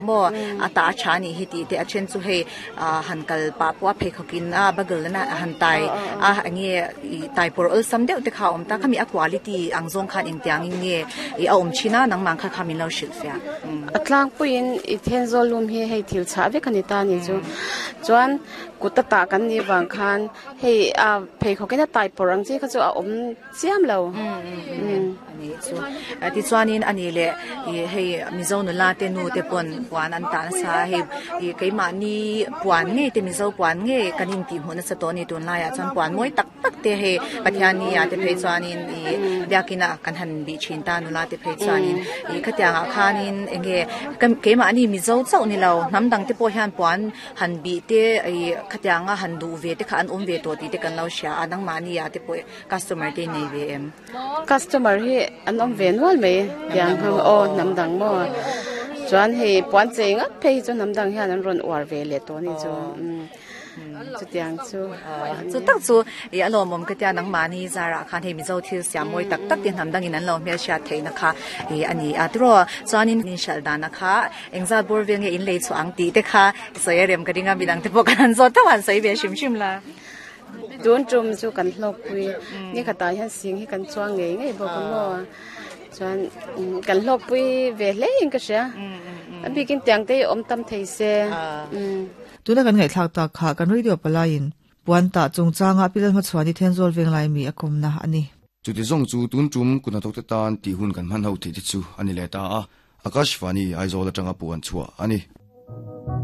Maw a tah a tha anih hi tih te a then chu hei ah han kal pah pawh a pheikhawk in a buckle na han tai a enge ih tai pawr awlsam deuh te kha a awm ta khami a quality ang zawng khan engtiang in nge ih a awm thin a nangmah kha kha min lo hrilh fiah. A tlangpuiin i Thenzawl lum hi hei thil chhah vek a ni ta ni chu chuan kut a tah kan nih vang khan hei a pheikhawk in a tai pawr ang chi kha chu a awm chiam lo. Ani chu tichuanin ani leh ih hei Mizo nula te nu te pawn puan an tah nasa a hei ih keimahni puan ngei te Mizo puan ngei kan intih hmuh nasa tawh a ni tunlaiah chuan puan mawi tak tak te hei Pathianni ah te phei chuanin ih biakina kan han bih thin ta nula te phei chuanin ih khatiangah khanin eng nge keimahni Mizo chauh ni lo hnam dang te pawh hian puan han bih te ih khatianga han duh ve te kha an awm ve tawh tih te kan lo hria a nangmahni ah te pawh Customer te nei ve em? Customer hi an awm ve nual mai tiang ho aw hnam dang maw chuan hei puan chei ngat phei hi chu hnam dang hian an rawn uar ve leh tawh a ni chu chutiang chu chu tak chu ih a lawmawm ka tia nangmahni zarah khan hei Mizo thil siam mawi tak tak te hnam dangin an lo hmelhriat theihna kha ih a ni a tiraw chuanin in hralh dana kha engzat bawr vel nge in lei chhuah ang tih te kha sawi a rem ka ring a midang te pawh kan han zawt tho a han sawi ve hrim hrim la. Tun tum chu kan hlawkpui ni khatah hian sing hi kan chuang ngei ngei bawk a maw chuan kan hlawkpui ve hle in ka hria a bikin tiang te hi awm tam thei se. Tuna kan ngaihthlak tak kha kan radio palaiin puan tah chungchanga Pilal hmachhuani Thenzawl Venglai mi a kawmna a ni. Chuti zawng chu tun tum kut hnathawkte tan tih hun kan hman ho theih te chu a ni leh ta a, Akashvani Aizawl atanga puan chhuah a ni.